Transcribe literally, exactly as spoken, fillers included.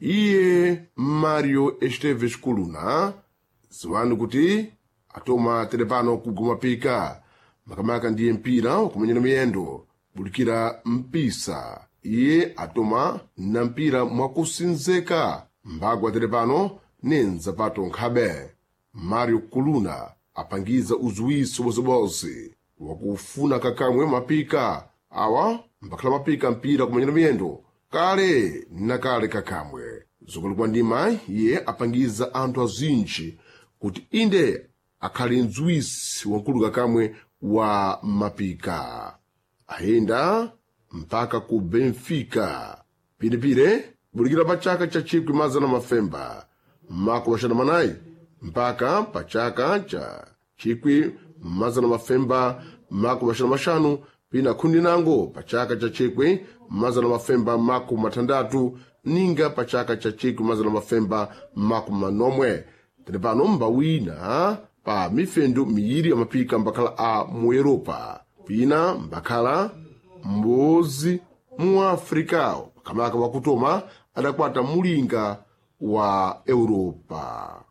Iye Mario Esteves Kuluna, ziwani kuti atoma telepano kuguma pika, makamaka ndiye mpira wakumenyera miyendo bulikira mpisa. Iye atoma na mpira mwakusinzeka mbagwa telepano nenzapato nkhabe. Mario Kuluna apangiza uzuwiso bozeboze wakufuna kakamwe mapika awa mbakhala mapika mpira kumenyera miyendo kale na kale kakamwe. Zokolekwa ndima iye apangiza anthu azinji kuti inde akhale mdziwisi wankulu kakamwe wa mapika. Ayenda mpaka ku Benfica piripire bulikira pa chaka cha chikwi mazana mafemba makumi axanu manayi mpaka pa chaka cha chikwi mazana mafemba makumi axanu maxanu pina khundi nango pa chaka cha chikwi mazana mafemba makumi mathandatu ninga pa chaka cha chikwi mazana mafemba makumi manomwe. Tere pano mbawina pa mifendu miyiri ya mapika mbakhala a mu Europa, pina mbakhala mbozi mu Afrika, makamaka wakutoma adakwata mulinga wa Europa.